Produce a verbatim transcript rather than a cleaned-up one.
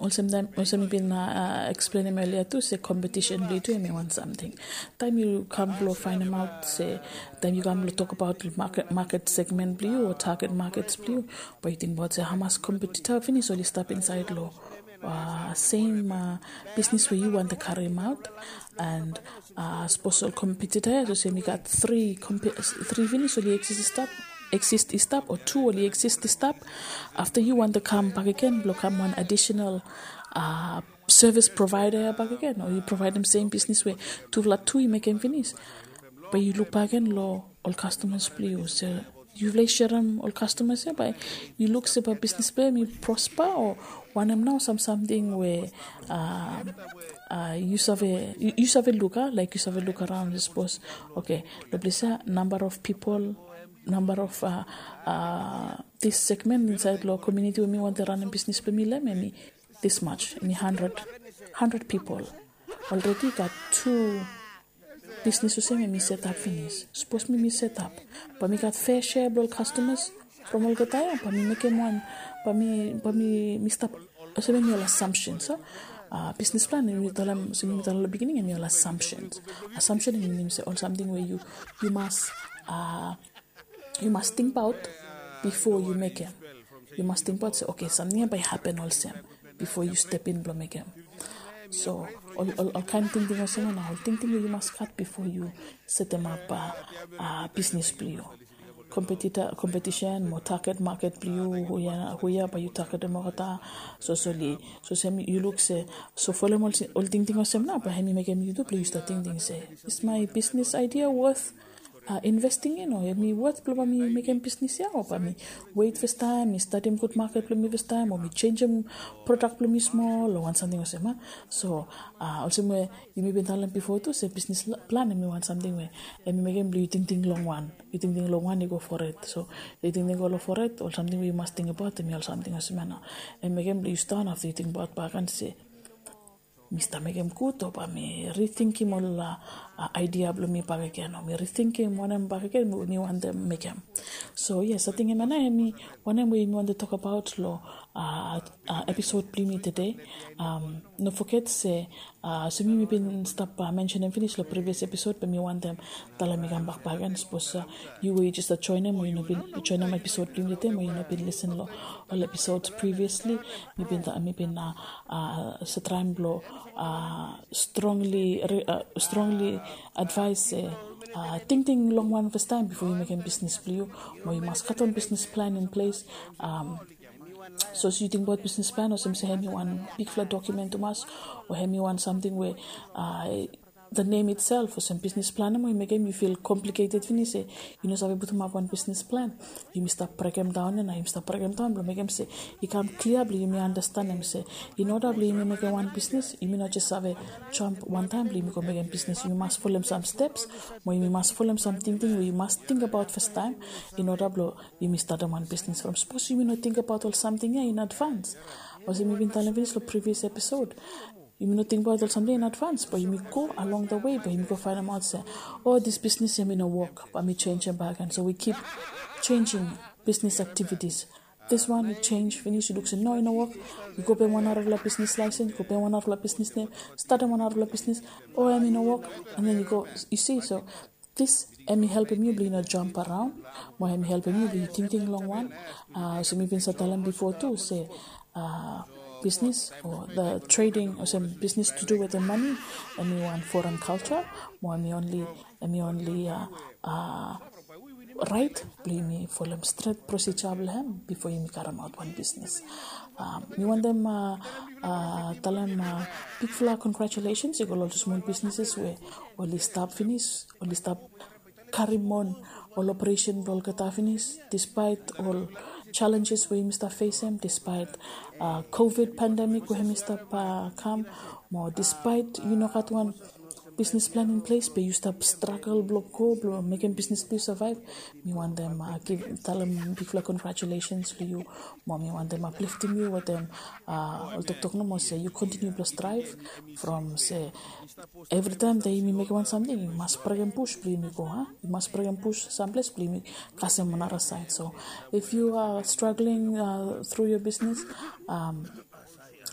Olsem taem, olsem mi bin eksplenem elia tu se kompetisen blong yu tu em i wan samting. Taem yu kam blong faenemaot se, taem yu kam blong tokbaot maket segmen blong yu o taget makets blong yu, bae yu tingbaot se hamas kompetita finis oli stap insaed long sem bisnis we yu wantem karimaot. And sapos ol kompetita ya, olsem i gat tri finis oli eksis i stap, o tu oli eksis i stap. Afta yu wantem kam bakegen blong kam wan adisenal sevis provaeda ya bakegen, o yu provaedem sem bisnis we tufala tu i mekem finis, bae yu luk bakegen long ol kastamas blong yu se yufala i serem ol kastamas ya, bae yu luk se bae bisnis blong yu em i prospa o wanem nao sam samting we yu save luk, laek yu save luk araon, sapos. Oke, long ples ya namba of pipol, namba of dis segmen insaed long komuniti we mi wantem ranem bisnis blong mi long em em i this much, em i handred pipol. Olredi i gat tu bisnis olsem em i setap finis. Sapos mi mi setap, bae mi gat fea sea blong ol kastamas from olgeta ya, bae mi mekem wan, bae mi stap. Olsem em i ol assumptions. Bisnis plan em i talem, olsem mi talem long beginning, em i ol assumptions. Assumption em i minim se ol samting we yu mas yu mas tingbaot bifo yu mekem. Yu mas tingbaot se, oke, samting ya bae i hapen olsem bifo yu step in blong mekem. So ol kaen tingting olsem ya nao ol tingting we yu mas gat bifo yu setemap bisnis blong yu. Kompetita, kompetisen mo taget maket blong yu, hu ya bae yu tagetem olgeta. So soli, so olsem yu luk se, so folem ol tingting olsem nao bae hem i mekem yu tu blong yu stap tingting se, is my business idea worth investing in, o em i wot blong bae mi mekem bisnis ya, o bae mi wet fastaem, mi stadim gud maket blong mi fastaem, o mi jenisim prodak blong mi smol, o wan samting olsem. So olsem we yumi bin talem bifo tu se bisnis plan em i wan samting we em i mekem blong yu tingting longwan. Yu tingting longwan i go fored. So yu tingting go long fored, ol samting we yu mas tingbaot em i ol samting olsem ya nao. Em i mekem blong yu stap afta yu tingbaot bakegen se mi stap mekem gud, o bae mi ritingim ol aedia blong mi bakegen, o mi ritingim wanem bakegen we mi wantem mekem. So yes, ating hemia nao hemi wanem we yumi wantem tokbaot long episod blong yumi tede. No foget se olsem yumi bin stap mensenem finis long privias episod, be mi wantem talem i kambak bakegen, sapos yu we yu jes stap joenem o yu no bin joenem episod blong yumi tede, o yu no bin lisen long ol episod previously, mi bin, mi bin save traem blong strongly, strongly advaes se tingting longwan fastaem bifo yu mekem bisnis blong yu, mo yu mas gat wan bisnis plan in ples. So sapos yu tingbaot bisnis plan olsem se hemi wan bigfala dokumen tumas, o hemi wan samting we the name itself olsem bisnis plan, mo i mekem yu fil kompliketed finis se yu no save putumap wan bisnis plan. Yumi stap brekemdaon ya nao, yumi stap brekemdaon blong mekem se i kam klia blong yumi andastanem se in oda blong yumi mekem wan bisnis, yumi no jes save jamp wantaem blong yumi go mekem bisnis. Yumi mas folem sam steps, mo yumi mas folem sam tingting we yu mas tingbaot fastaem in oda blong yumi statem wan bisnis from. Sapos yumi no tingbaot ol samting ya in advans, olsem mi bin talem finis long previous episode, yumi no tingbaot ol samting in advans, bae yumi go along the way bae yumi go faenemaot se, o, dis bisnis ya hemi no wok, bae mi jenisim bakegen. So we keep changing business activities. This one yu jenis finis, yu luk se no, i no wok, yu go pem wan narafala bisnis laesens, yu go pem wan narafala bisnis nem, statem wan narafala bisnis, o, hemi no wok, and then yu go, yu si. So this hemi helpem yu blong yu no jamp araon, mo hemi helpem yu blong yu tingting longwan. So mi bin save talem bifo tu se bisnis o the trading olsem bisnis to do wetem mane, hemi wan foren kalja, mo hemi onli, hemi onli raet blong yumi folem stret prosija blong hem bifo yumi karemaot wan bisnis. Mi wantem talem bigfala congratulations i go long ol smol bisnises we oli stap finis, oli stap karim on ol operesen blong olgeta finis, dispaet ol jalenjes we yumi stap fesem, dispaet covid pandemik we hemi stap kam, mo dispaet yu no gat wan bisnis plan in ples, be yu stap stragel blong go blong mekem bisnis blong yu savaev. Mi wantem talem bigfala congratulations long yu, mo mi wantem apliftim yu wetem ol toktok nomo se yu kontiniu blong straev from se evritaem taem yumi mekem wan samting yu mas brekem bus blong yumi go, a? Yu mas brekem bus samples blong yumi kasem wan nara saed. So if you are struggling through your business,